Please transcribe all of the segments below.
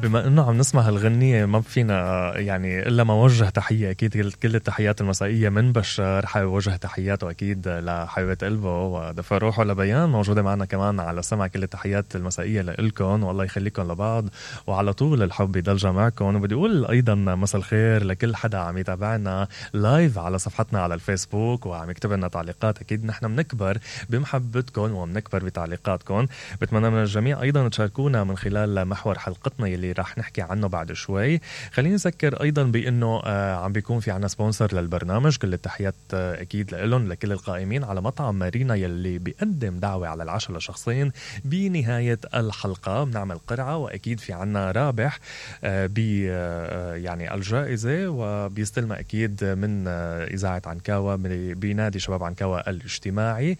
بما انه عم نسمع هالغنية ما فينا يعني الا ما وجه تحية اكيد. كل التحيات المسائية من بشار، حابب وجه تحياته اكيد لحبيبة قلبه ودفى روحه لبيان موجودة معنا كمان على سمع. كل التحيات المسائية لإلكم والله يخليكم لبعض وعلى طول الحب يضل جمعكم. وبدي اقول ايضا مساء الخير لكل حدا عم يتابعنا لايف على صفحتنا على الفيسبوك وعم يكتب لنا تعليقات. اكيد نحن بنكبر بمحبتكم وبنكبر بتعليقاتكم. بتمنى من الجميع ايضا تشاركونا من خلال محور حلقتنا يلي راح نحكي عنه بعد شوي. خليني نذكر ايضا بانه عم بيكون في عنا سبونسر للبرنامج. كل التحيات اكيد لهم لكل القائمين على مطعم مارينا يلي بيقدم دعوة على العشاء لشخصين بنهاية الحلقة. بنعمل قرعة واكيد في عنا رابح يعني الجائزة وبيستلمها اكيد من اذاعة عنكاوة بنادي شباب عنكاوة الاجتماعي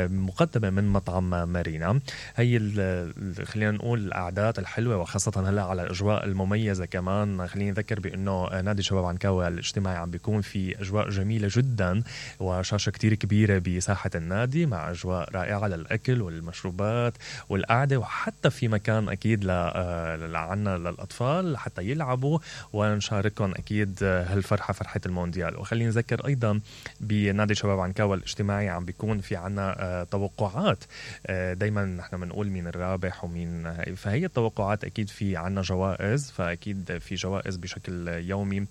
مقدمة من مطعم مارينا. هي خلينا نقول القعدات الحلوة وخاصة هلا على الأجواء المميزة كمان. خليني نذكر بأنه نادي شباب عنكاوة الاجتماعي عم بيكون في أجواء جميلة جدا وشاشة كتير كبيرة بساحة النادي مع أجواء رائعة للأكل والمشروبات والقعدة، وحتى في مكان أكيد عنا للأطفال حتى يلعبوا ونشاركهم أكيد هالفرحة فرحة المونديال. وخليني نذكر أيضا بنادي شباب عنكاوة الاجتماعي عم بيكون في عنا توقعات. دايما نحن بنقول مين الرابح ومين، فهي التوقعات أكيد في عنا جوائز، فأكيد في جوائز بشكل يومي.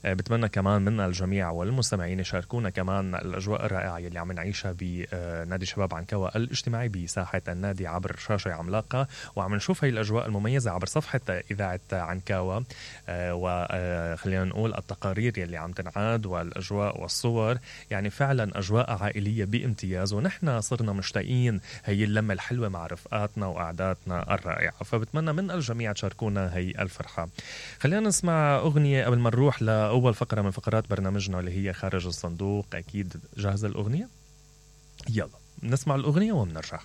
بتمنى كمان من الجميع والمستمعين يشاركونا كمان الأجواء الرائعة اللي عم نعيشها بنادي شباب عنكاوة الاجتماعي بساحة النادي عبر شاشة عملاقة. وعم نشوف هاي الأجواء المميزة عبر صفحة إذاعة عنكاوة، وخلينا نقول التقارير يلي عم تنعاد والأجواء والصور، يعني فعلا أجواء عائلية بامتياز. ونحن صرنا مشتاقين هي اللمة الحلوة مع رفقاتنا وقعداتنا الرائعة، فبتمنى من الجميع تشاركونا هي الفرحة. خلينا نسمع أغنية قبل ما نروح لأول فقرة من فقرات برنامجنا اللي هي خارج الصندوق. أكيد جاهزة الأغنية؟ يلا نسمع الأغنية ومنرجع.